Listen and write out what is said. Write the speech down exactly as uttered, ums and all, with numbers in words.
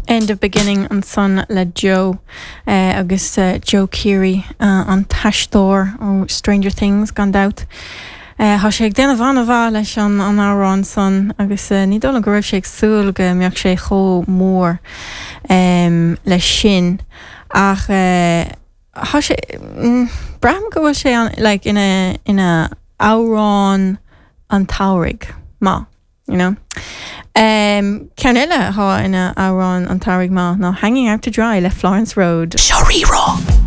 End of Beginning ansan le Joe uh, agus uh, Joe Keery uh, an t-aisteoir ó Stranger Things gan dabht. Uh, Tá sé ag déanamh an-mhaith leis an an amhrán san agus uh, ní dóigh go raibh sé ag súil go mbeadh sé chomh mór um, leis sin ach uh, Tá sé mm, braithim go bhfuil sé an like, ina ina amhrán an tsamhraidh maith you know. Um, Ceann eile atá ina amhrán an tsamhraidh maith ná Hanging Out to Dry le Florence Road. Seo Rí-Rá.